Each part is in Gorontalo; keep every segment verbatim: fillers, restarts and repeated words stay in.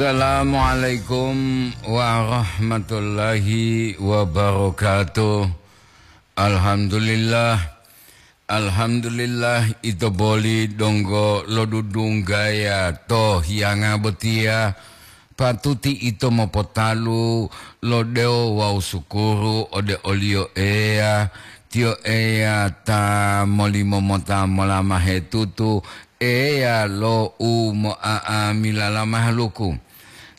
Assalamualaikum warahmatullahi wabarakatuh. Alhamdulillah. Alhamdulillah, ito boli donggo lodudunggaya to hiyanga botiya. Patuti ito mopotalu lo dewo wawu sukuru ode o-Liyo Eya. Tiyo Eya ta molimo mota molamahe tutu, Eya lo umo'a'amilala mahaluku.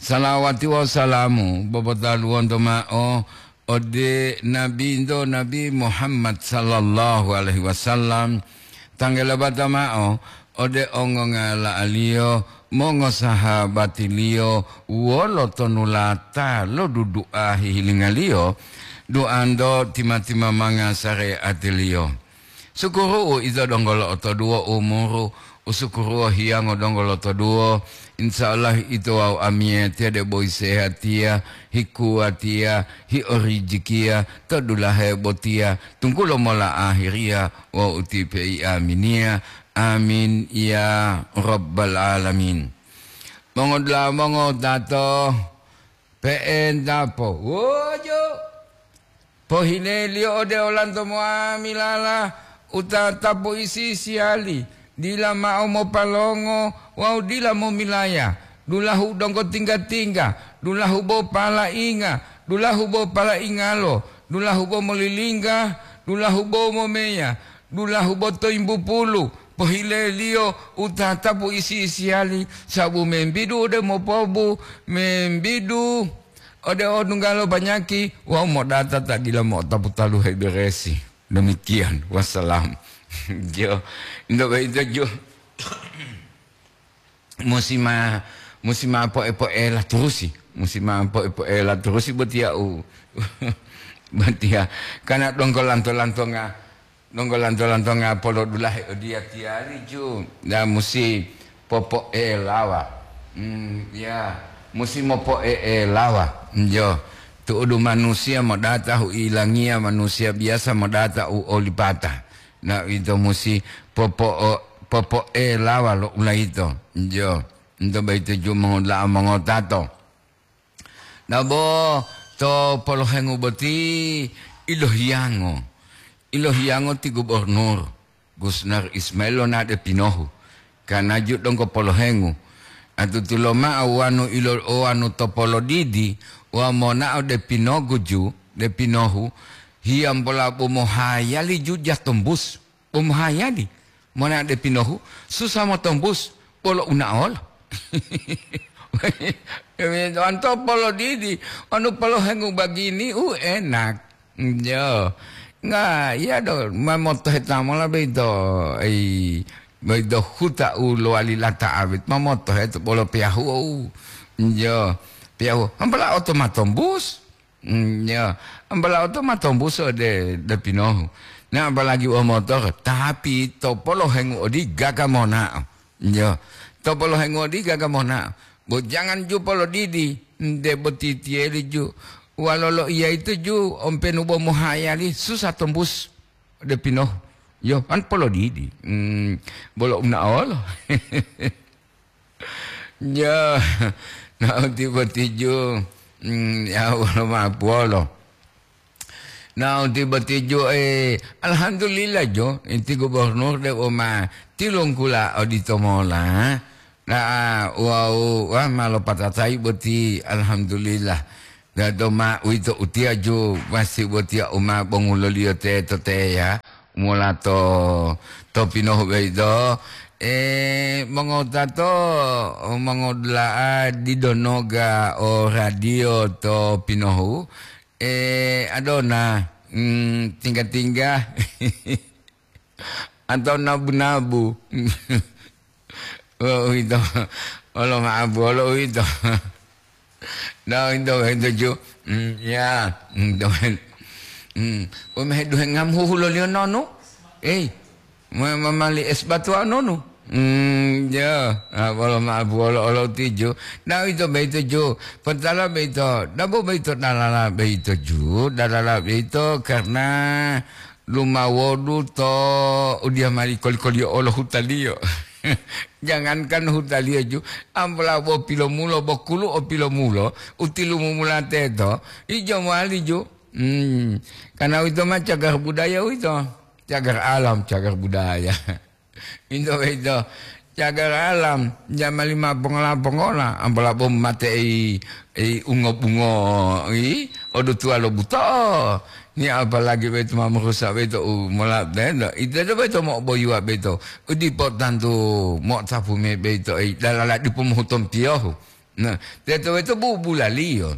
Salawati wawu salamu bobotaluwonto ma'o ode Nabinto Nabi Muhammad sallallahu alaihi wasallam, tanggalabata ma'o ode ongongala'aliyo, mongosahabatiliyo, wolo tonulata lo dudu'a hihilingaliyo, duanto tima-timamanga sare'atiliyo. Sukuru'u ito donggo lo'otoduwo umuru, usukuruwo hiyango donggo lotoduwo. Insya Allah ito wawu amiyatiya debo hisehatiya, hikuwatiya, hiorijikiya to dulahe botiya, tunggulo mola ahiriya wawu utipe'i aminiya. Amin ya rabbal alamin. Mongodula'a mongotato, pe'entapo. Wojo. Pohileliyo ode olanto moamilala u tatapu isi-isiyali, dila mao mopalongo wawu dila momilaya, dulahu donggo tingga-tingga, dulahu bo palainga, dulahu bo palaingalo, dulahu bo molilingga, dulahu bo momeya, dulahu bo toyimbupulu. Pohileliyo u tatapu isi-isiyali, sabu membidu ode mopobu, membidu ode odunggalo banyaki wawu modata ta dila mo'otapu talu heberesi. Demikian, wassalam. Jo, ndo boyito jo. Musi ma, musi ma po'e-po'ela turusi. Musi ma po'e-po'ela turusi botiya u, botiya. Karena donggo lanto-lantonga, donggo lanto-lantonga polodulahe odiyatiyali ju. Da musi popo'elawa. Hmm, ya, musi mopo'e'elawa. Jo, tu'udu manusiya modata hu'ilangiya manusiya biyasa modata u olipata. Na ito musi popo'o-, popo'elawa lo ulayito. Jo, ito boyito ju mongoda'a mongotato. Nabo to polohengu boti ilohiyango. Ilohiyango ti gubernur Gusnar Ismail lonade pinohu. Kanaju donggo polohengu. Atutulo ma'o wanu ilo, wanu to polodidi, wa mona'o de pinogu ju, de pinohu, hiyambola bo mohayali ju jatombus. Bo mohayali. Mona de pinohu, susah motombus, bolo unaolo. Anto polodidi, anu polohengu bagini, u enak. Jo. Nga, iya do, mamotohe tamola beito, ei, beito huta u lowali lata awit, mamotohe to bolo piyahu, jo. Piyahu, ampala oto matombus. Mm, ya, ambala oto ma tombuso de, de pinohu. Na apalagi wo motor, tapi to polohengu odi gaga monao. Ya, to polohengu odi gaga monao. Bo jangan ju polodidi, de boti tiyeli ju. Walolo iya itu ju, ompenu bo mohayali, susah tombus de pinohu. Yo, an polodidi. Mm, bolo unaolo. Ya, na'u tibo tiju, mm, ya, wolo ma'apuwolo. Na'u tibo tiju, eh, alhamdulillah jo, inti gubernur de woma tilungkula odito mola. Na'a, wau, wah, ma lopatatai boti, alhamdulillah. Dado ma uwito utiya ju masi botiya u ma bonguloliyo teto teya, mola to, to pinohu boyito, e, mongowutato, mongodula'a dido noga o radio to pinohu, e, adona, mm, tingga-tingga. Atau nabu-nabu. Oh, uwito. Olo ma'abu, olo uwito. Nah, uwito, uwito ju. Hmm, ya. Hmm, to. Hmm. Wemahe duhe ngam huhuloliyo nonu? Eh, ma-, ma-, mali es batu nonu? Hmm, ya. Ah, olo ma'abu, olo, olo tiju. Nah, uwito, uwito ju. Pentala uwito. Dabo uwito dalala uwito ju. Dalala uwito karena lumawodu to udiya mali koli-koliyo olo hutaliyo. Jangankan hutaliyo ju, ampola bo pilomulo, bo kulu o pilomulo, u tilumumula teto, ijo mowali ju. Hmm, karena uwito ma cagar budaya uwito. Cagar alam, cagar budaya. Ito boyito, cagar alam, jamali ma pongola-pongola, ampola bo mate'i, i, ungo-bungo, i, odutuwa lo buto'o. Ni apalagi boyito ma morusa boyito u mola teto. Ito boyito mo'oboyuwa boyito. U dipo tantu mo'otapu mayi boyito, i, dalala dipo mohutompiyohu. Nah, teto boyito bubulaliyo.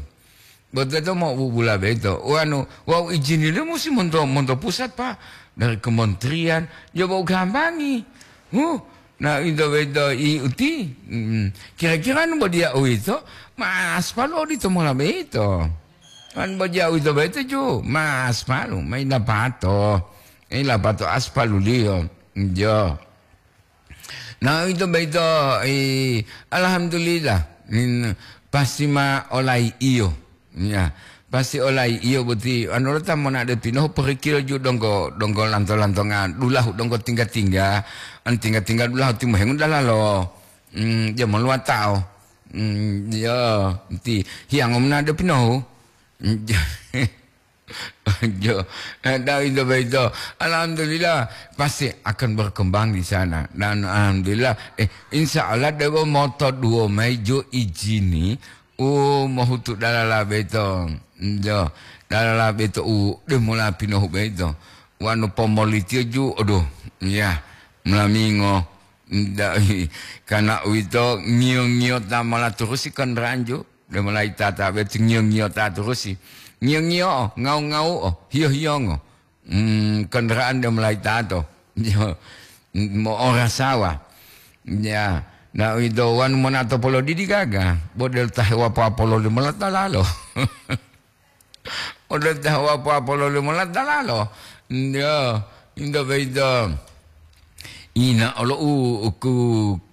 Bo teto mo'obubula boyito. Wanu, wawu ijiniliyo musi monto, monto pusat, Pak. Dari kementerian, coba u gambangi. Huh, nah, ito boyito i uti. Mm, kira-kira nu bo diya uwito, ma aspalu odito mola boyito. Kan bo diya uwito boyito ju, ma aspalu, ma ilapato. Ilapato aspaluliyo. Jo. Nah, ito boyito, i, alhamdulillah, in, pasti ma olai iyo. Ya, pasti olai iyo boti, anu lo ta monao de pinohu porikilo ju donggo, donggo lanto-lantonga dulahu, donggo tingga-tingga, an tingga-tingga dulahu timohengu dalalo. Hmm, dia moluwatao. Hmm, ya, ti hiyango monao de pinohu. Hmm, Jo, eh, dah itu begitu. Alhamdulillah, pasti akan berkembang di sana. Dan alhamdulillah, eh, insya Allah dewo moto duo mayi jo ijini, u mohutu dalala beto. Jo, dalala beto u de mula pinohu beto. Wanu pomolitio ju, aduh, ya, melamingo. Nda-, karena uwito ngiyo-ngiyota mola turusi kendaraan ju. De mulai tata beti ngiyo-ngiyota turusi. Ngiyo-ngiyo'o, ngawu-ngawu'o, hiyo-hiyongo. Hmm, kendaraan de mulai tato. Yo, mo'orasawa. Ya, na uwito wanu monato polodidi gaga, bo delo ta hewapo-apolo limola dalalo. Odelo ta hewapo-apolo limola dalalo. Yo, into boyito. Ina olo u, u ku,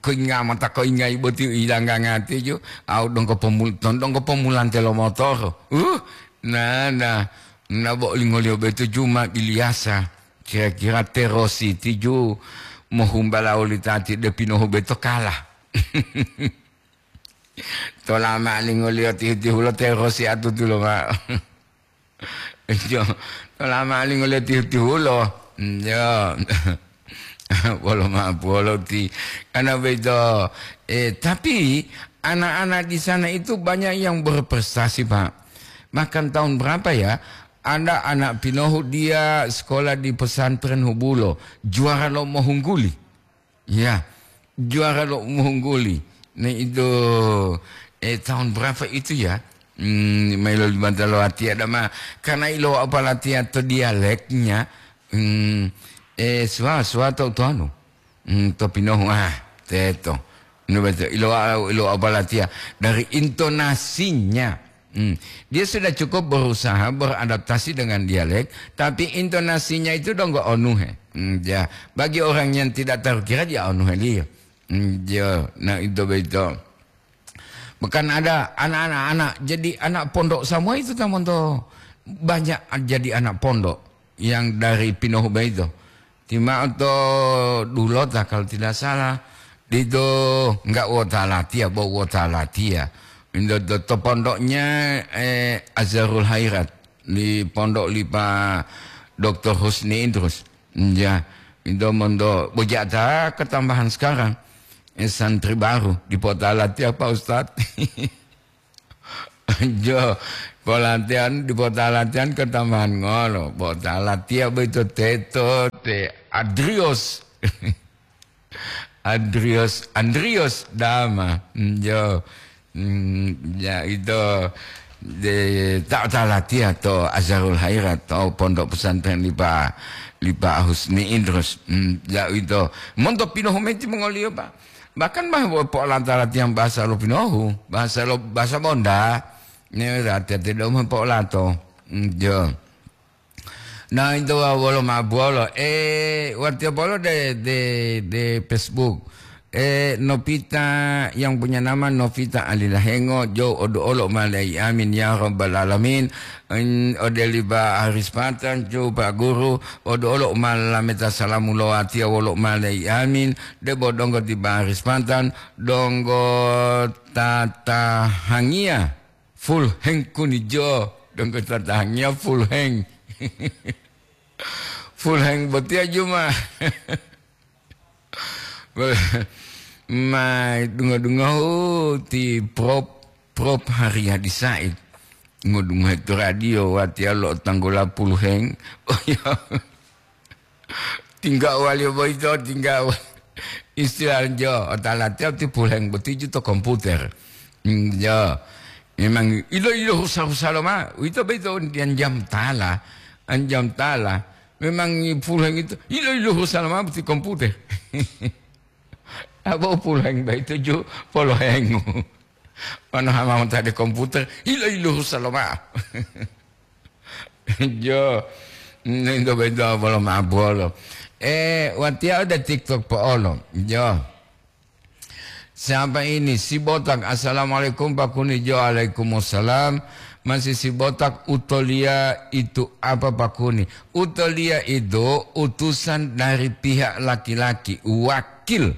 koinga mata koingai boti u ilangga ngati ju, au donggo pomul-, ton donggo pomulante lo motoro. Uh, na, na, na bo lingoliyo boyito ju ma biliyasa. Kira-kira terositi ju mohumbala oli tati de pinohu boyito kala. Tolama lingoliyo tihu-tihulo terosi atutulo ma. Jo, tolama lingoliyo tihu-tihulo. Jo. Wolo ma'o puwolo ti. Karena begitu, eh, tapi anak-anak di sana itu banyak yang berprestasi, Pak. Bahkan tahun berapa ya, ada anak pinohu dia sekolah di pesantren Hubulo, juara lo mohungguli. Ya, juara lo mohungguli. Nah, itu, eh, tahun berapa itu ya? Hmm, mailo limata lo atiya dama. Karena ilo apalatiya to dialeknya, hmm, eh, suwa, suwa to, to anu. Hmm, to pinohu, ah, teto. Ilo beto, ilo, ilo apalatiya. Dari intonasinya. Hmm. Dia sudah cukup berusaha beradaptasi dengan dialek, tapi intonasinya itu donggo onuhe. Hmm, ya. Bagi orang yang tidak terkira, dia onuheliyo. Hmm, ya. Nah, itu begitu. Bahkan ada anak-anak, anak, jadi anak pondok semua itu, tamonto. Banyak jadi anak pondok yang dari Pinohu begitu. Tima'o to Dulota, kalau tidak salah, ditu enggak wota latiya, bo wota latiya. Indo to, to pondoknya, eh, Azharul Hairat, di pondok lipa Doktor Husni Idrus. Ya, indo mondo bojata ketambahan sekarang. Eh, santri baru di Pota Latiya, Pak Ustadz. Jo, polatihan, di pota latihan ketambahan ngolo. Pota latihan boyito teto te Adrios. Adrios, Andrios Dama. Jo. Hmm, ya itu de ta, ta latihan to Azharul Hairat, to Pondok Pesantren Lipa, Lipa Husni Idrus. Hmm, ya itu. Monto pinohu meti mongoliyo, Pak. Bahkan bah, po'olata latihan bahasa lo pinohu, bahasa lo, bahasa Bonda. Ne latihan tidak mau po'olato. Hmm, jo. Nah, itu wa-, wolo ma buwolo. Eh, watiya bolo de, de, de Facebook. Eh, Novita yang punya nama Novita Alilahengo, jo odo olo malai amin ya rabbal alamin. En, ode liba Haris Patan, jo Pak Guru, odo olo malameta salamu lo atia wolo malai amin. Debo donggo tiba Haris Patan, donggo tatahangia full heng kuni jo, donggo tatahangia full heng. Full heng botia juma. Ma dungo-dungohu ti Prop, Prop Haryadi Said. Ngodungohe to radio, watiya lo tanggola puluheng. Oh, iya. Tingga wali boyito, tingga wa-, istilah jo, otalatiya ti puluheng boti ju to komputer. Hmm, jo. Memang ilo-ilo husa-husa loma, uwito boyito diyan jam tala, an jam tala. Memang puluheng itu, ilo-ilo husa loma boti komputer. Abo puleng bai tuju polohengu. Manu hama montade komputer, ilo-ilo husa lomao. Jo, ninto bento bolo ma'o bolo. Eh, watiya ode TikTok po'olo. Jo. Siapa ini? Si Botak. Assalamualaikum, Pak Kuni. Jo, waalaikumsalam. Masih si Botak, utoliya itu apa, Pak Kuni? Utoliya itu utusan dari pihak laki-laki, wakil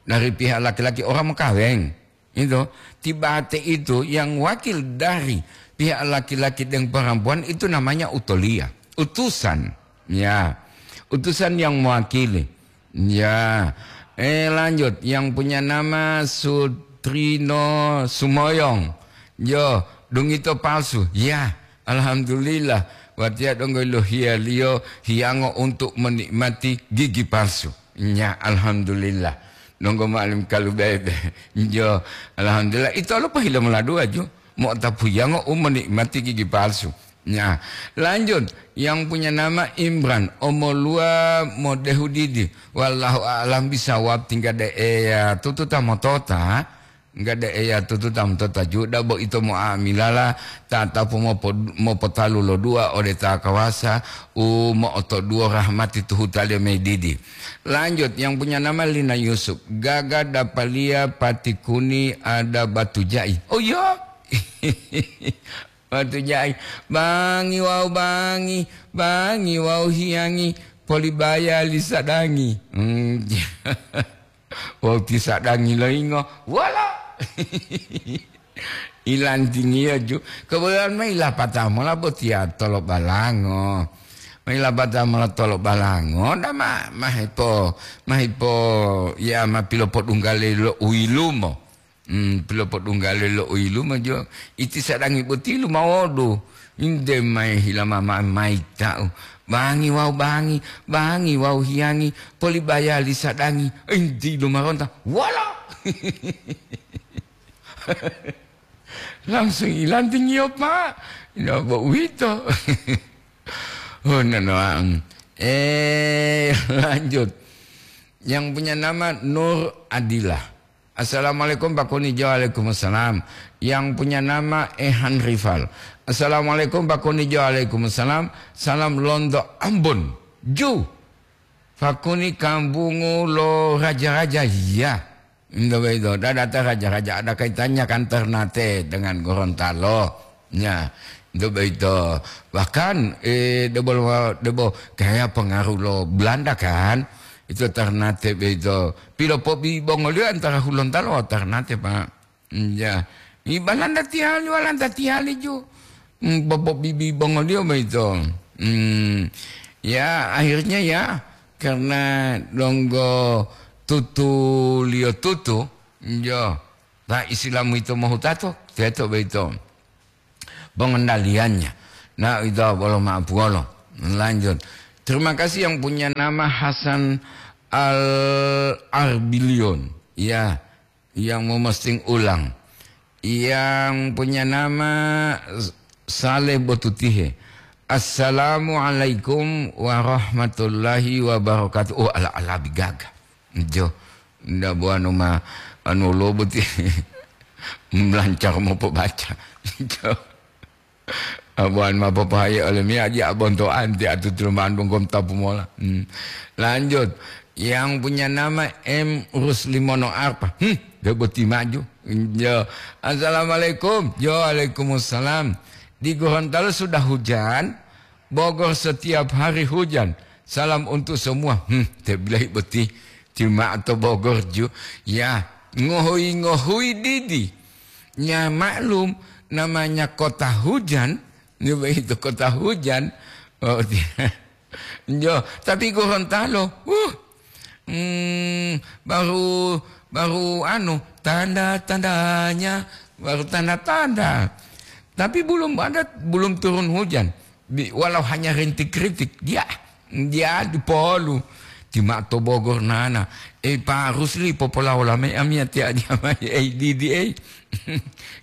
dari pihak laki-laki orang mokaweng. Itu, tibate itu yang wakil dari pihak laki-laki dan perempuan itu namanya utoliya, utusan. Ya, utusan yang mewakili. Ya, eh, lanjut, yang punya nama Sutrino Sumoyong. Yo, dungito palsu. Ya, alhamdulillah. Watiya donggo lo hiyaliyo hiyango untuk menikmati gigi palsu. Nya, alhamdulillah. Nonggo ma'alim kalubebe. Jo, alhamdulillah. Ito lo pohile mola dua ju. Mo'otapu yango u menikmati gigi palsu. Nya, lanjut. Yang punya nama Imran, omoluwa modehu didi. Wallahu a'lam bisawab, tingga de eya tututa motota. Nggak de eya tututa motota ju, dabo ito mo'amilala, tatapu mopo-, mopotalu lo dua ode ta kawasa, u mo'otoduwo rahmati tuhuta leme didi. Lanjut, yang punya nama Lina Yusuf. Gaga dapaliya pati kuni ada batu jai. Oh, iya? Batu jai. Bangi wau bangi, bangi wau hiyangi, polibaya li sadangi. Hmm. Wau ti sadangi loyingo, wolo. Ilantingiyo ju. Kebetulan ma ilapata mola botiya tolo balango. Ma ilapata mola tolo balango, dama mahipo, mahipo, ya, ma pilopodunggale lo uyilumo. Hmm, pilopodunggale lo uyilumo jo. Iti sadangi boti lumawodu. Inde mai hilama ma-, maita'u. Bangi wau bangi, bangi wau hiyangi, polibayali sadangi. Inti lumaronta. Wala! Langsung ilantingiyo, Pak. Ina bo uwito. Oh, nanoang. Eh, lanjut. Yang punya nama Nur Adila. "Assalamualaikum, Pak Kunijo." "Waalaikumsalam." Yang punya nama Ehan Rival. "Assalamualaikum, Pak Kunijo." "Waalaikumsalam. Salam Londo Ambon." Ju. Pak Kuni kambungu lo raja-raja. Iya. Ndo begitu. Dadata raja-raja ada kaitannya kan Ternate dengan Gorontalo. Ya, itu begitu. Bahkan, eh, debo, debo, kayak pengaruh lo Belanda kan, itu Ternate begitu. Pilopobibongoliyo antara Hulontalo wawu Ternate, Pak. Hmm, ya. I Balanda tiyali, Walanda tiyali ju. Hmm, popobibibongoliyo begitu. Hmm. Ya, akhirnya ya, karena donggo tutuliyo tutu, yo, ta Islam itu mohutato, teto begitu. Pengendaliannya. Nah, itu bolo maapuwolo. Lanjut. Terima kasih yang punya nama Hasan Al-Arbilion. Ya, yang memosting ulang. Yang punya nama Saleh Botutihe. "Assalamualaikum warahmatullahi wabarakatuh." Oh, ala-ala bigaga. Jo, nda buanu ma anu lo boti. Melancar mopobaca. Jo. Abuan ma popohaye ole miyaji abonto anti atutu mandung gom tapu mola. Hmm. Lanjut. Yang punya nama M Rusli Mono Arpa. Hmm, dia boti maju. Yo. Assalamualaikum. Yo, waalaikumsalam. Di Gorontalo sudah hujan, Bogor setiap hari hujan. Salam untuk semua. Hmm, dia bilang boti. Cuma atau Bogor ju. Ya, ngohui-ngohui didi. Ya, maklum, namanya kota hujan. Ini begitu kota hujan. Oh, dia. Yo, tapi Gorontalo, uh, hmm, baru, baru anu, tanda-tandanya, baru tanda-tanda. Tapi belum ada, belum turun hujan. Bi-, walau hanya rintik-rintik, dia, dia di Polu. Di Mato Bogor nana. Eh, Pak Rusli, popolaola me amia tia dia mai, eh, didi, eh.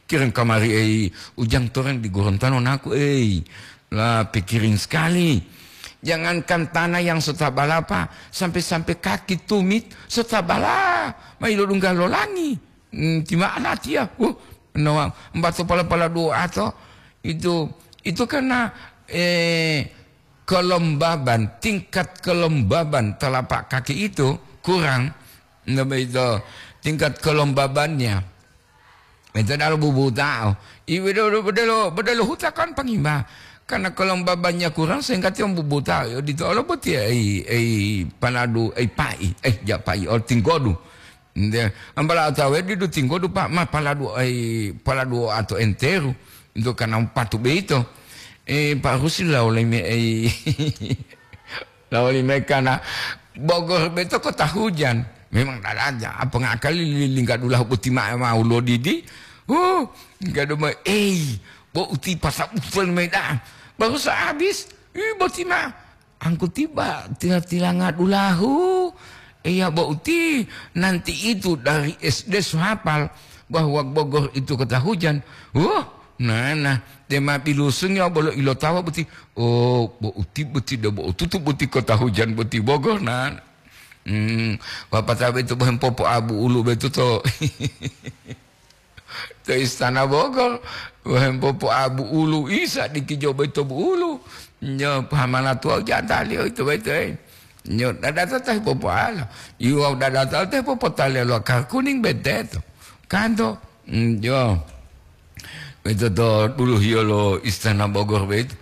Kirim kamari, eh, ujang toreng di Gorontalo naku, eh. Lah, pikirin sekali. Jangankan tanah yang setabala, Pak, sampai-sampai kaki tumit setabala. Mai lo dungga lo langi. Hmm, di mana dia? Uh, no, embato pala-pala dua atau itu, itu karena, eh, kelembaban, tingkat kelembaban telapak kaki itu kurang. Nah, begitu. Tingkat kelembabannya. Ito dalo bubutao. I bedelo, bedelo, bedelo huta kan pangimba. Karena kelembabannya kurang sehingga tiang bubutao. Yo, dito olo boti ai, ai paladu, ai pai, ai ja pai, ol tinggodu. Nde, ambala atawe didu tinggodu pa, ma paladu ai, paladu atau enteru. Untuk karena patu beito. Eh, Pak Rusli lah oleh me ai. Lawali mayi kana Bogor beto kota hujan. Memang dada aja, apa ngakali lilingga dulahu boti ma'e mau lodidi. Huh, gado ma, ei, bo uti pasa utuwal mayi da'a. Baru sa habis, ih, boti ma. Angku tiba tila-tilanga dulahu. Iya, bo uti, nanti itu dari S D so hafal bahwa Bogor itu kota hujan. Huh, nah, nah, dema bilusungi bolo ilotawa boti. Oh, bo uti boti do bo tutu boti kota hujan boti Bogor na. Hmm, wapata betu bohem popo abu ulu betu to. To istana Bogor, bohem popo abu ulu isa dikijo beto bu ulu. Nyo pahamana tua jatali itu beto, eh. Nyo dadata teh popo ala. Iwa dadata teh popo tali lo kar kuning beteto. Kanto, hmm, yo. Beto to dulu hiyo lo istana Bogor beto.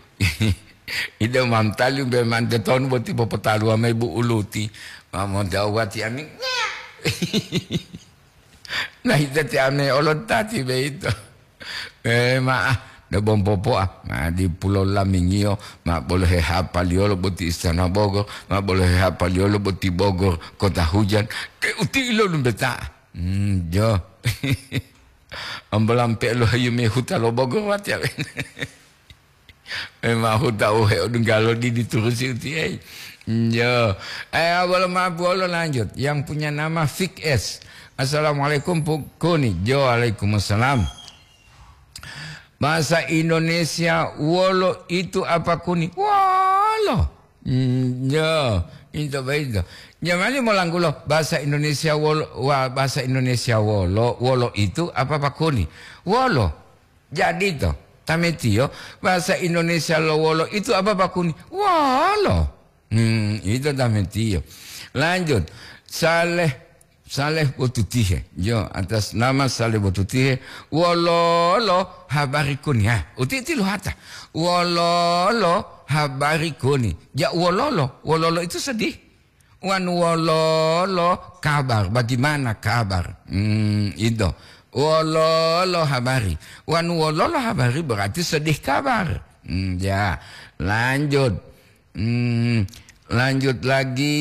Ide mantali be mante ton boti popotaluwa mayi bu uluti. Mamonte awati ami. Nah, ite ti ame olotati be ito. Eh, ma'a, de bompopo'a. Ma di pulo lamingiyo, ma bolo hehapaliyolo boti istana Bogor, ma bolo hehapaliyolo boti Bogor, kota hujan. Ke uti ilo lumbeta'a. Hmm, jo. Ambolampe lo hayu me huta lo Bogor wati awe. Memang aku tahu he odunggalo di diturusi uti, eh. Yo. Eh, awal maaf, walo lanjut. Yang punya nama Fik S. Assalamualaikum, Pu Kuni. Jo, waalaikumsalam. Bahasa Indonesia wolo itu apa, Kuni? Wolo. Hmm, yo, itu baik itu. Jamali molanggulo bahasa Indonesia wolo, wa, bahasa Indonesia wolo, wolo itu apa, Pak Kuni? Wolo. Jadi to, tametiyo, bahasa Indonesia lo wolo itu apa, Pak Kuni? Wolo. Hmm, itu tametiyo. Lanjut. Saleh, Saleh Botutihe. Yo, atas nama Saleh Botutihe. Wololo habari Kuni. Ha, uti-uti lo hata. Wololo habari Kuni. Ja wololo. Wololo itu sedih. Wan wololo kabar, bagaimana kabar? Hmm, itu. Wololo habari. Wan wololo habari berarti sedih kabar. Hmm, ya, lanjut. Hmm, lanjut lagi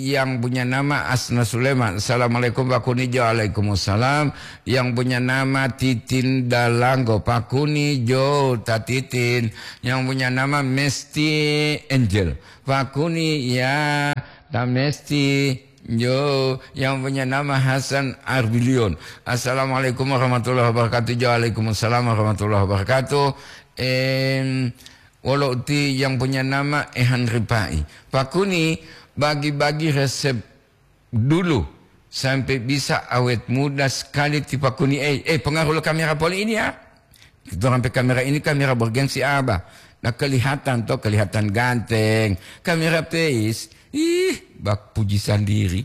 yang punya nama Asna Sulaiman. Assalamualaikum, Pak Kuni. Waalaikumsalam. Yang punya nama Titin Dalanggo. Pak Kuni, jo, ta Titin. Yang punya nama Mesti Angel. Pak Kuni, ya, ta Mesti. Yo, yang punya nama Hasan Arbilion. Assalamualaikum warahmatullahi wabarakatuh. Waalaikumsalam warahmatullahi wabarakatuh. Em, wolo uti yang punya nama Ehan Ripai. Pak Kuni, bagi-bagi resep dulu sampai bisa awet muda sekali ti Pak Kuni. Eh, eh, pengaruh lo kamera poli ini ya. Kita sampai kamera ini kamera bergengsi apa? Nah, kelihatan toh, kelihatan ganteng. Kamera peis. Ih, bak puji sandiri.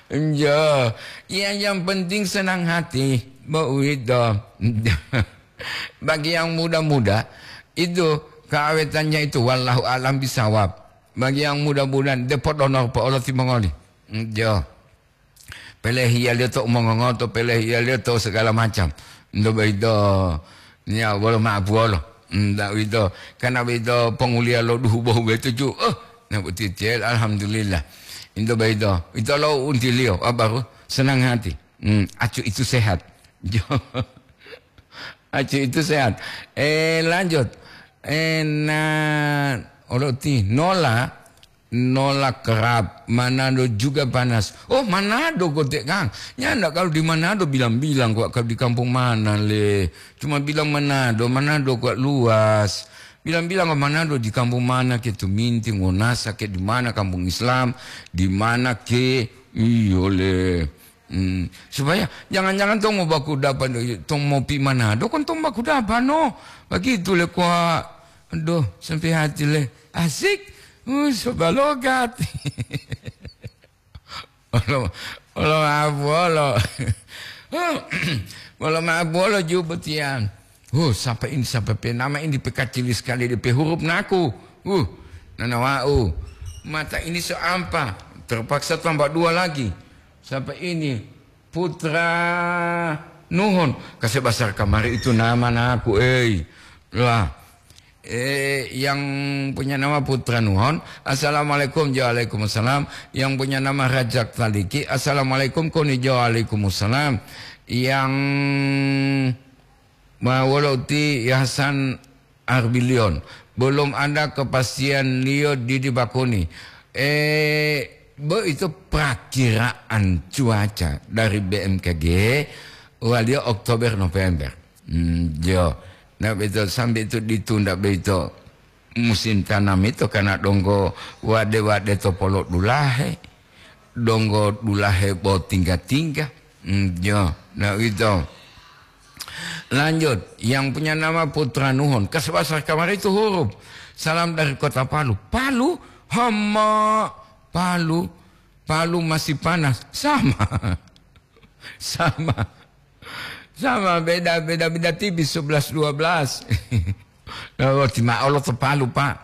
Njo, ya, yang penting senang hati, bo uwito. Bagi yang muda-muda, itu keawetannya itu, wallahu alam bisawab. Bagi yang muda-muda, depot honor po olo timongoli. Njo. Pelehiyaliyo to umongongoto, pelehiyaliyo to segala macam. Nto boyito, ya, wolo ma'apuwolo. Nta uwito, karena boyito ponguliya lo duhu bohu boyito ju. Oh, na boti cel, alhamdulillah. Nto boyito, ito lo untiliyo, ah, baru senang hati. Hmm, acu itu sehat. Jo. Acu itu sehat. Eh, lanjut. Eh, na, olo ti, nola, nola kerap, Manado juga panas. Oh, Manado kote, Kang. Nyanda kalau di Manado bilang-bilang kok, kalau di kampung mana le. Cuma bilang Manado, Manado kok luas. Bilang-bilang kok Manado di kampung mana ke Tuminting, Wonasa ke di mana kampung Islam, di mana ke, iyo le. Hmm, supaya jangan-jangan tong mobaku dapa, tong mopi Manado, kon tong baku dapa, no. Begitu le, kwa. Aduh, sampai hati le. Asik. Uh, so balogat. Olo, olo maaf, olo. Olo maaf, olo ju botiyan. Uh, sampai ini, sampai pe nama ini pekacili sekali, D P huruf naku. Uh, nanawau. Mata ini so ampa. Terpaksa tambah dua lagi. Sampai ini, Putra Nuhon, kase basar kamari itu nama naku, ei. Lah, eh, yang punya nama Putra Nuhon, "Assalamualaikum." "Waalaikumsalam." Yang punya nama Rajak Taliki, "Assalamualaikum." Koni jo, "Waalaikumsalam." Yang Ma wolo uti Hasan Arbilion, belum ada kepastianliyo didi bakuni. Eh, bo itu prakiraan cuaca dari B M K G, waliyo Oktober, November. Hmm, jo. Nah, betul, sampai itu ditunda begitu. Musim tanam itu karena donggo wade-wade to polo dulahe, donggo dulahe bo tingga-tingga. Hmm, jo, nah, gitu. Lanjut, yang punya nama Putra Nuhon. Kasbasar kamari itu huruf. Salam dari kota Palu. Palu, hama, Palu, Palu masih panas. Sama. Sama. Sama, beda, beda, beda tipis, sebelas dua belas. Nah, oh, ti ma'o lo to Palu, Pak.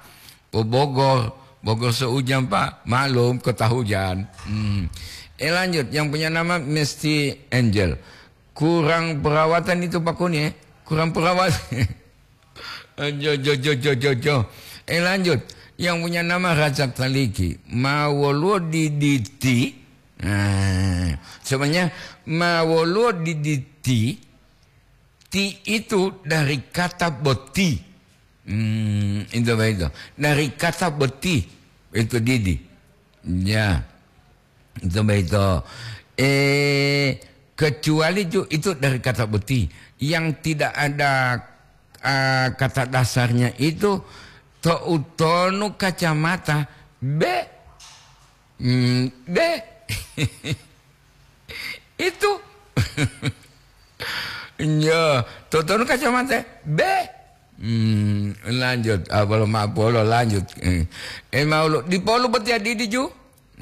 Po Bogor, Bogor seujang, Pak. Maklum, kota hujan. Hmm. Eh, lanjut, yang punya nama Mesty Angel. Kurang perawatan itu, Pak Kuni, eh. Kurang perawatan. Jo, jo, jo, jo, jo, jo. Eh, lanjut. Yang punya nama Rajab Taliki. Ma woluwo diditi. Nah, sebenarnya ma woluwo diditi, ti itu dari kata boti. Hmm, itu begitu. Dari kata boti, itu didi. Ya. Itu begitu. Eh, kecuali ju-, itu dari kata boti. Yang tidak ada, ah, kata dasarnya itu, to'utonu kacamata, be. Hmm, be. Itu. Ya, to'utonu kacamata, be. Hmm, lanjut. Ah, bolo ma-, bolo lanjut. Eh, eh, mau lo, di polu boti adidi ju?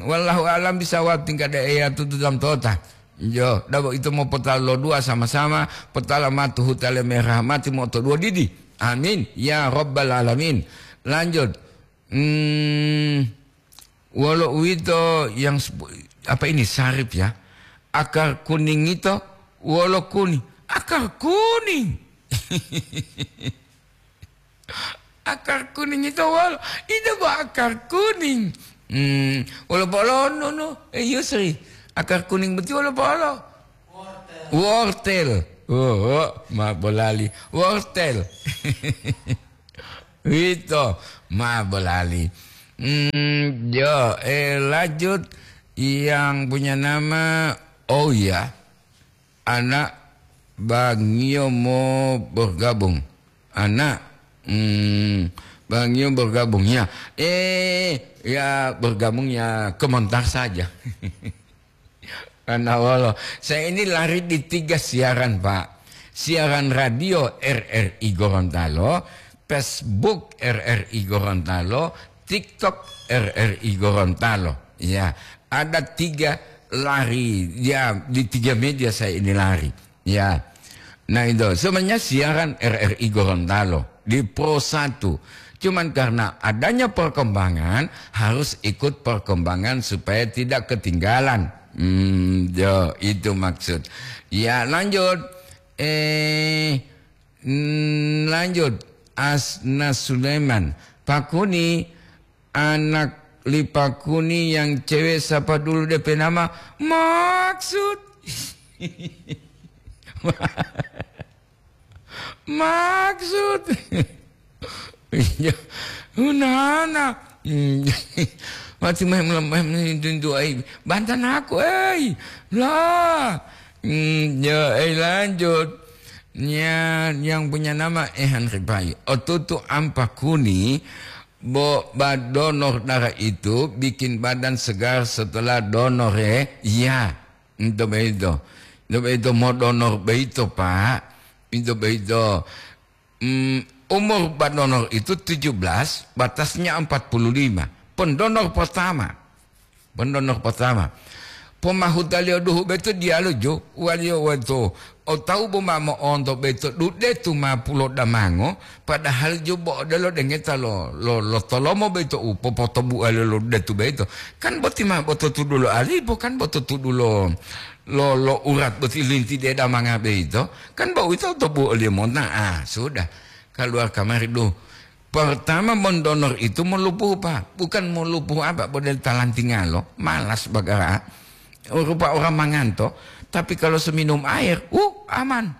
Wallahu alam bisawab, tingkat daerah tutu jam tota. Jo, dabo itu mau potalo dua sama-sama, potala matu hutale merah mati mau to dua didi. Amin. Ya Rabbal Alamin. Lanjut. Hmm, wolo uwito yang sepu-, apa ini, sarip ya? Akar kuning itu wolo kuning. Akar kuning. Akar kuning itu wolo, itu bo akar kuning. Hmm, wolo polo, no, no. Eh, Yusri, akar kuning boti wolo polo. Wortel. Oh, oh, ma bolali. Wortel. Wito, ma bolali. Hmm, jo, eh, lanjut yang punya nama, oh ya, anak Bangio mau bergabung. Anak, hmm, Bangio bergabung. Ya, eh, ya bergabung ya komentar saja. Karena wolo, saya ini lari di tiga siaran, Pak. Siaran radio R R I Gorontalo, Facebook R R I Gorontalo, TikTok R R I Gorontalo. Ya, ada tiga lari, ya, di tiga media saya ini lari. Ya. Nah, itu sebenarnya siaran R R I Gorontalo di Pro satu. Cuman karena adanya perkembangan, harus ikut perkembangan supaya tidak ketinggalan. Hmm, yo, itu maksud. Ya, lanjut. Eh, mm, lanjut. Asna Sulaiman. Pak Kuni, anak li Pak Kuni yang cewek siapa dulu D P nama? Maksud. Maksud. Iya. Nana. Hmm. Mati main melemah itu ai. Bantan aku, eh. Lah. Hmm, ya, eh, lanjut. Ya, yang punya nama Ehan Ripai. Otutu ampa kuni, bo, ba donor darah itu bikin badan segar setelah donor, eh. Iya. Itu beito. Itu beito, mau donor beito, Pak. Itu beito. Mm, umur ba donor itu tujuh belas, batasnya empat puluh lima. Pendonor pertama. Pendonor pertama. Pomahutaliyo duhu beito diyalu ju, waliyo wato. O tawu bo ma mo'onto beito dude tu ma pulo damango, padahal ju bo odelo dengeta lo, lo, lo tolomo beito u popotobualiyo lo detu beito. Kan boti ma boto tudulo alipo, kan boto tudulo lo, lo urat boti linti de damanga beito, kan bo uwito to bu oliyo monta. Ah, sudah. Keluar kamari, duh. Pertama, mendonor itu melupuh, Pak. Bukan melupuh apa, model talantingalo. Malas bagara. Rupa orang manganto. Tapi kalau seminum air, uh, aman.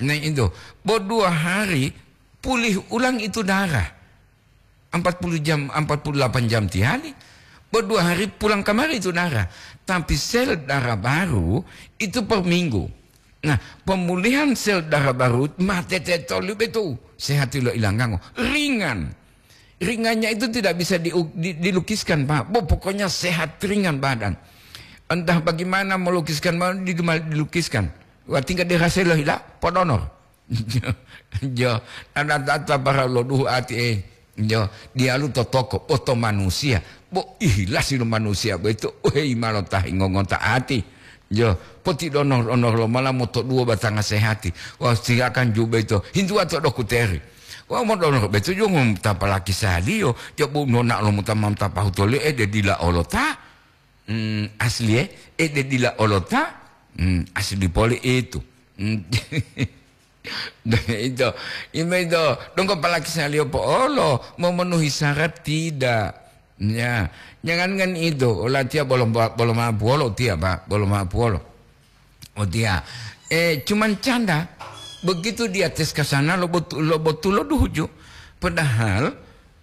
Nah, itu. Bo dua hari, pulih ulang itu darah. Empat puluh jam, empat puluh delapan jam tihali, berdua hari pulang kamari itu darah. Tapi sel darah baru itu per minggu. Nah, pemulihan sel darah baru mate tetoli betul. Sehat lo ilanggango. Ringan. Ringannya itu tidak bisa di, di, dilukiskan, Pak. Bo, pokoknya sehat ringan badan. Entah bagaimana melukiskan, mau di, dilukiskan. Wah, tinggal dirasa lo hila, podonor. Jo, ada tata para lo duhu ati, eh. Jo, dialu totoko, oto manusia. Bo, ihilasi lo manusia, bo itu, oh, hei, malo tahi ngongonta ati. Jo, poti donor-donor lo mala moto dua batanga sehati. Wah, silakan ju beito. Hintu atau dokuteri. Wah, mo donor beito, jo, ngom tapalaki saliyo. Jo, bu nona lo mutamam tapahu tole, eh, de dila olota. Hmm, asli, eh. Eh, de dila olota. Hmm, asli pole itu. Hmm. Ito, ime ito, donggo palaki saliyo po'olo, memenuhi syarat tidak. Ya, jangankan itu, latiya bolo, bolo mapuolo tiya, Pak, bolo mapuolo. Oh, tiya. Eh, cuman canda. Begitu dia tes ke sana, lo betu-, lo betulo duhuju. Padahal,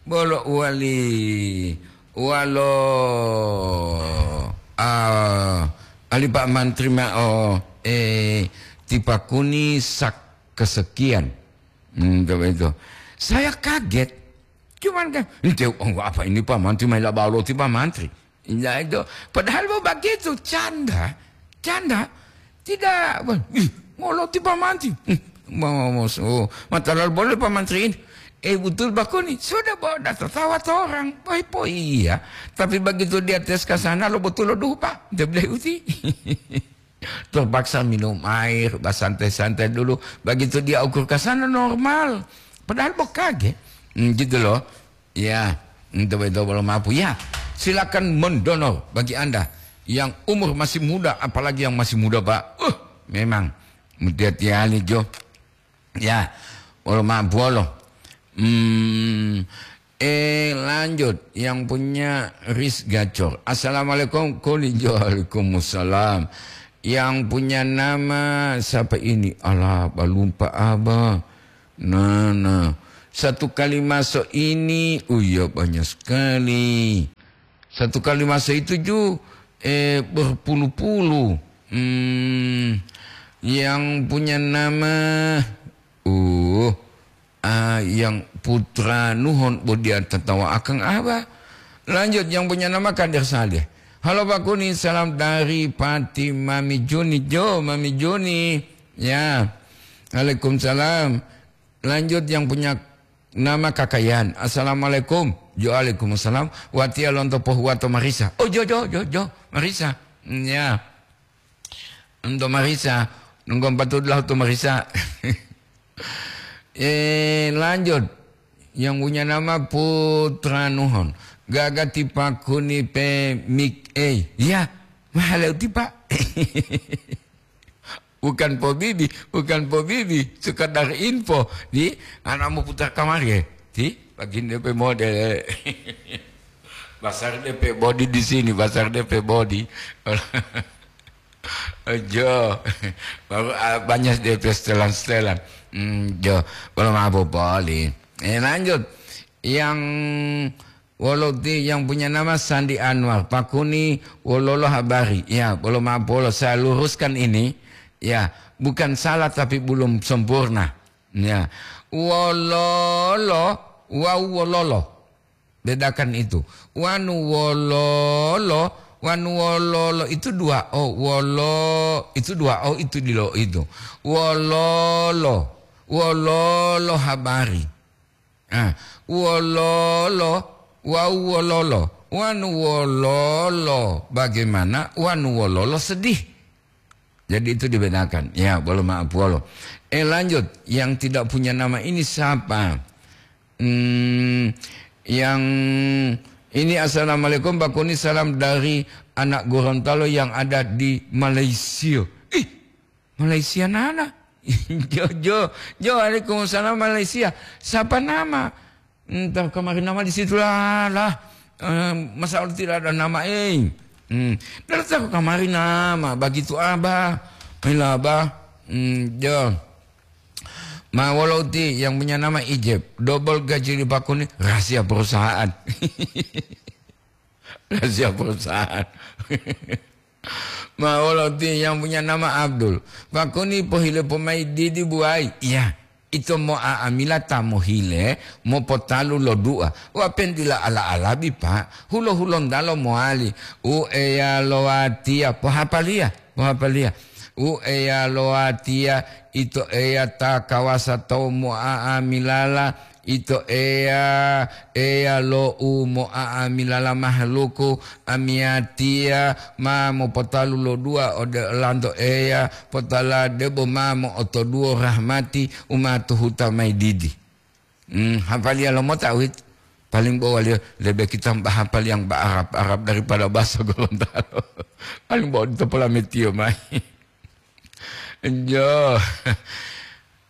bolo uwali, walo, ah, ali Pak Mantri ma'o, eh, tipakuni sak kesekian. Hmm, coba itu. Saya kaget. Cuman kan, "Ente, oh, apa ini Pak Mantri, maila balo ti Pak Mantri?" Ya, itu. Padahal mau begitu, canda. Canda. Tidak, wah, ih, ngoloti Pak Mantri. Hmm, mau, mau, so, mata lalu boleh Pak Mantri ini. Eh, betul Pak Kuni, sudah bawa data tawa orang. Poi, poi, iya. Tapi begitu dia tes ke sana, lo betul lo dupa. Dia bilang, "Uti." Terpaksa minum air, bersantai-santai dulu. Begitu dia ukur ke sana normal. Padahal bokage. Hmm, gitu loh. Ya, untuk itu belum mampu. Ya, silakan mendonor bagi Anda yang umur masih muda, apalagi yang masih muda, Pak. Uh, memang. Mudah tiali, Jo. Ya, wolo ma'o buwolo. Hmm, eh, lanjut. Yang punya Ris Gacor. "Assalamualaikum." Kuli, "Waalaikumsalam." Yang punya nama siapa ini? Alah, balumpa, Abah. Nah, nah. Satu kali masuk ini, oh iya, banyak sekali. Satu kali masa itu ju, eh, berpuluh-puluh. Hmm, yang punya nama, uh, ah, yang putra nuhon bodia tatawa akang apa? Lanjut, yang punya nama Kadir Saleh. "Halo Pak Kuni, salam dari Pati Mami Juni." Jo, Mami Juni. Ya. Waalaikumsalam. Lanjut, yang punya nama Kakayan. "Assalamualaikum." Jo, alaikum salam. Watiya lonto pohuwato marisa. Oh, jo, jo, jo, jo, marisa. Ya. Lonto marisa. Nunggu empat belas to marisa. Eh, lanjut. Yang punya nama Putra Nuhon. Gaga tipakuni pe mik, eh. Ya, mahal tipa. Bukan po bibi, bukan po bibi, sekedar info. Di, anak mau putar kamar ya. Di, bagian D P model. Pasar D P body di sini, pasar D P body. Jo, baru, ah, banyak D P setelan-setelan. Hmm, jo, belum apa-apa, Li. Eh, lanjut. Yang wolo ti yang punya nama Sandi Anwar, pakuni wololo habari. Ya, bolo maaf, bolo saya luruskan ini. Ya, bukan salah tapi belum sempurna. Ya, wololo, wau wololo. Bedakan itu. Wanu wololo, wanu wololo itu dua o. Wolo itu dua o, itu dilo itu. Wololo, wololo habari. Ah, wololo, wau wololo, wanu wololo. Bagaimana wanu wololo sedih? Jadi itu dibedakan. Ya, bolo maaf, bolo. Eh, lanjut. Yang tidak punya nama ini siapa? Hmm, yang ini, "Assalamualaikum, Pak Kuni, salam dari anak Gorontalo yang ada di Malaysia." Ih, Malaysia nana. Jo, jo, jo, waalaikumsalam Malaysia. Siapa nama? Entah kamari nama di situ lah, lah. Eh, masa Allah tidak ada nama, eh. Hmm. Dari tahu kamari nama, begitu abah. Ila abah. Hmm, jo. Ma wolo uti yang punya nama Ijeb. Double gaji di Pak Kuni, rahasia perusahaan. Rahasia perusahaan. Ma wolo ti yang punya nama Abdul. Pak Kuni pohile pomai didi buai. Iya, ito mo'a'amila ta mohile, mopotalu lo dua. Wa pentila ala-alabi, Pak. Hulo-hulontalo mowali. U Eya lo watiya, pohapaliya, pohapaliya. U Eya lo watiya, ito Eya ta kawasa tawu mo'a'amilala. Ito Eya, Eya lo u mo'a'amilala mahaluku, amiyatiya ma mopotalu lo dua ode olanto Eya, potala debo ma mo'otoduwo rahmati u ma tuhuta mayi didi. Hmm, hafaliya lomota uwit. Paling bo waliyo lebe kita bahapal yang ba Arab-Arab daripada bahasa Gorontalo. Paling bo odito polametiyo mayi. Jo.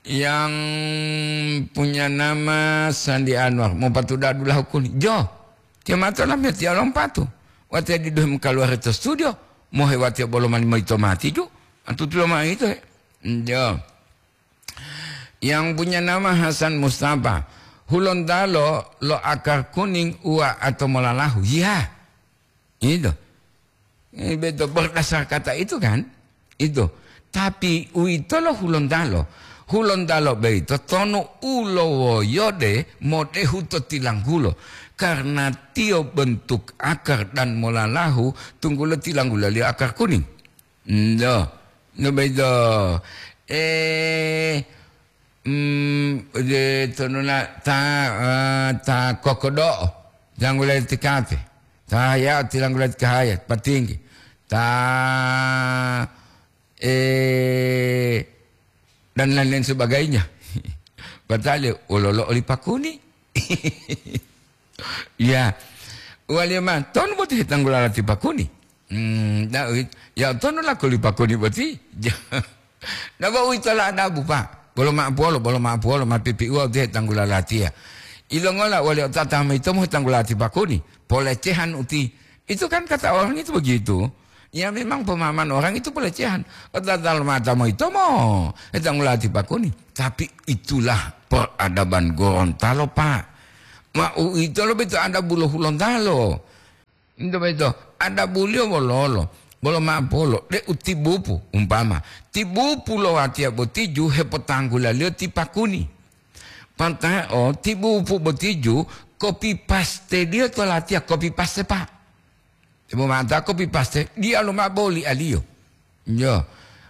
Yang punya nama Sandi Anwar, mopatuda dulahu kuni. Jo, tiyo mato lamiyatiya lompatu. Watiya diduhe mokaluwari to studio, mohe watiya bolo mani moyito mati ju. Antutulo mao ito he. Jo. Yang punya nama Hasan Mustafa, Hulontalo lo akar kuning uwa ato molalahu. Ya. Itu. Eh, beto berdasar kata itu kan? Itu. Tapi uwitolo Hulontalo. Hulontalo boyito tonu u lowoyode modehu to tilanggulo. Karena tiyo bentuk akar dan molalahu, tunggulo tilanggulaliyo akar kuning. Ndo. Ndo boyito. Eh, Hmm, de tonuna ta, eh, ta kokodo'o, tilanggula tikate. Ta haya, tilanggula tikahaya, patinggi. Ta, eh, dan lain-lain sebagainya. Patale, ololo oli pakuni. Ya. Waliya ma, tonu boti hetanggula lati pakuni. Hmm, da, ya, tonu lako li pakuni boti. Napa uwito la adabu, Pak? Bolo ma'apuwolo, bolo ma'apuwolo, ma pipiuwa utiye tanggula latiya. Ilongola wali otata moyitomo tanggula lati pakuni? Polecehan uti. Itu kan kata orang itu begitu. Ya, memang pemahaman orang itu pelecehan. Otata lo mata moyitomo, eh, tanggula lati pakuni. Tapi itulah peradaban Gorontalo, Pak. Ma uwito lo beto adabu lo Hulontalo. Ito boyito, adabuliyo wololo, bolo ma'apolo, de'u tibupu, umpama, tibupu lo watiya boti ju hepotanggulaliyo ti pakuni. Panta'o tibupu boti ju kopi pasteliyo to latiya kopi paste, Pak. Debo ma'ata kopi paste, diyalu mao boli aliyo. Yo,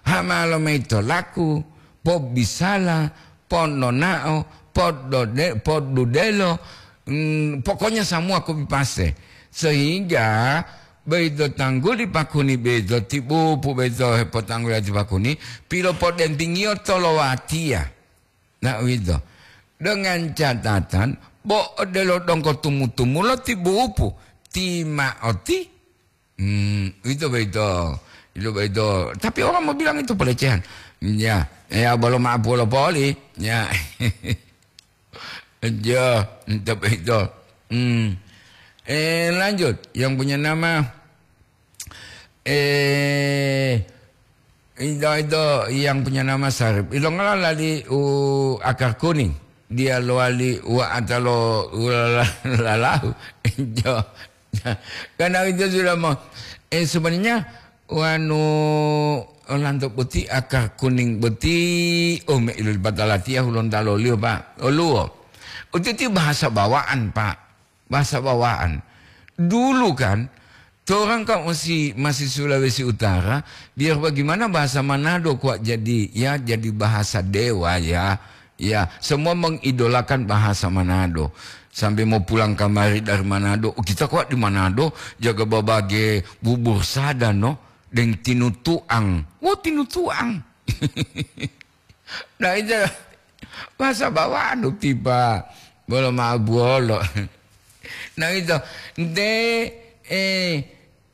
hamalo mayi to laku, pobisala, ponnonao, poddode-, poddudelo, Hmm, pokoknya semua kopi paste. Sehingga beito tangguli pakuni beito, tibupu beito hepotangguli ati pakuni, pilopodentingiyo to lo watiya. Nah, uwito. Dengan catatan, bo odelo donggo tumu-tumulo tibupu, ti ma'oti. Hmm, itu beito. Itu beito. Tapi orang mau bilang itu pelecehan. Ya, ya, belum apa poli. Ya. Ya, itu beito. Hmm. Eh, lanjut. Yang punya nama, eh, itu, itu yang punya nama Sarip. Ilongola lali u akar kuning. Dia lowali wa atalo u lala-, lalahu. Jo. Karena itu sudah mau. Eh, sebenarnya, wanu, lanto boti akar kuning boti, oh, me ilu batalatiya hulon taloliyo, Pak. Oluwo. Uti ti bahasa bawaan, Pak. Bahasa bawaan. Dulu kan, torang kan masih, masih Sulawesi Utara, biar bagaimana bahasa Manado kuat jadi, ya, jadi bahasa dewa, ya. Ya, semua mengidolakan bahasa Manado. Sampai mau pulang kamari dari Manado, "Oh, kita kuat di Manado, jaga babage bubur sada, no, deng tinutuang." Wo, tinutuang. Nah, itu bahasa bawaan, tiba. Bolo ma buolo. Nah, itu. Nte, eh,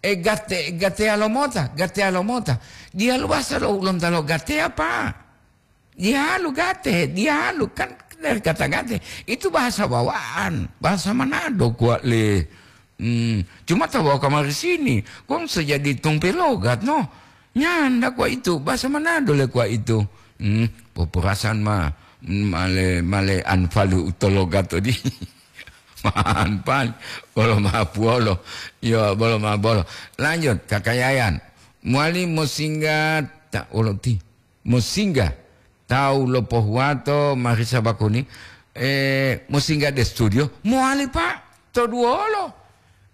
eh, gate, gatea lomota, gatea lomota. Dia luasa lo, lonta lo gatea, Pak. Dialu gate, dialu kan dari kata gate. Itu bahasa bawaan, bahasa Manado kuat le. Hmm, cuma tahu bawa kamari sini, kong sejadi tumpe logat, no. Nyanda kuat itu, bahasa Manado le kuat itu. Hmm, popurasan ma, hmm, male, male anfalu utologat tadi. Manpan, bolo ma puolo. Yo, bolo ma bolo. Lanjut, Kakayayan. Muali mosingga tak oloti. Mosingga tawu lo pohuwato marisa bakuni, eh, mosingga de studio, mowali, Pak, to duwolo.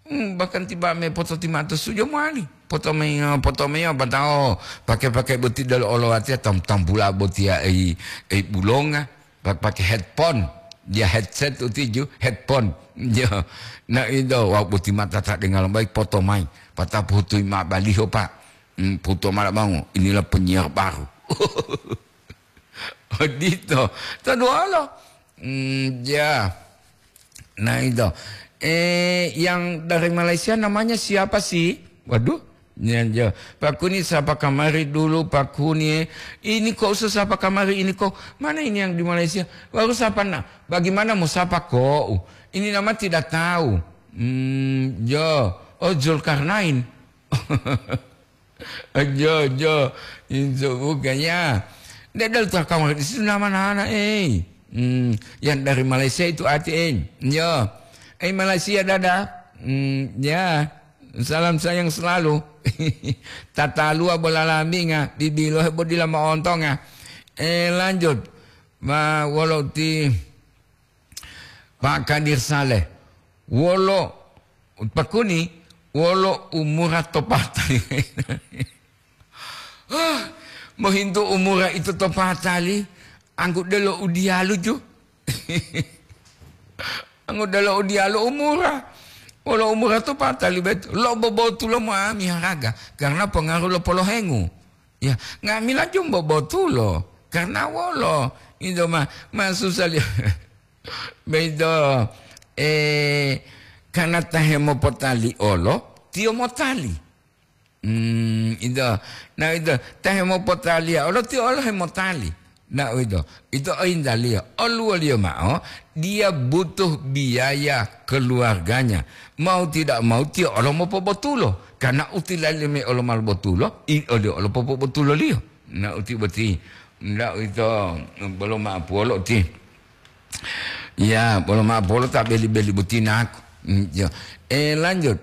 Hmm, bahkan tiba me pototimato studio mowali. Potomeyo, potomeyo, batao pake-pake boti dalo olowatiya tam-, tambula botiya ei, ei bulonga, pa-, pake headphone. Dia headset utiju, headphone. Ya. Nah, itu, wau boti mata tak dengar baik, poto mai. Patap hutui ma baliho, Pak. Hmm, puto mala bango, inilah penyiar baru. Odito. Taduwolo. Hmm, ya. Nah, itu. Eh, yang dari Malaysia namanya siapa sih? Waduh. Ya, ya. Pak Kuni sapa kamari dulu, Pak Kuni. Ini kok usah sapa kamari ini kok. Mana ini yang di Malaysia? Baru sapa nak? Bagaimana mau sapa kok? Ini nama tidak tahu. Hmm, ya. Oh, Zulkarnain. Jo, jo, itu bukan ya. Dia dari Takamar di situ nama nana, eh. Hmm, yang dari Malaysia itu ati, eh. Yo. Eh, Malaysia, dadah. Hmm, ya. Salam sayang selalu. Tata lua bola lambinga, bibilo bodila maontonga. Eh, lanjut. Ma, wolo ti Pak Kadir Saleh, wolo, pakuni, wolo umura to patali. Ah, mohintu umura itu to patali, anggu delo udialu ju. Anggu delo udialu umura. Wolo umura to patali bet, lo bobotulo mo ami haraga, karena pengaruh lo polohengu. Ya, nga'amila jumbo botulo. Karena wolo, itu ma, ma susah li-, beito, eh, karena ta hemopotali olo, tiyo motali. Hmm, itu. Nah, itu, ta hemopotaliya olo, tiyo olo hemotali. Nah, itu. Itu ointaliyo. Oluwoliyo ma'o, dia butuh biaya keluarganya. Mau tidak mau, tiyo olo mopobotulo. Karena utilalime olo ma lobotulo, i-, oliyo olo popobotuloliyo. Nah, uti boti. Ndak uwito, bolo ma'o puwolo ti. Ya, bolo ma'o puwolo ta beli-beli boti naku. Hmm, ya. Eh, lanjut.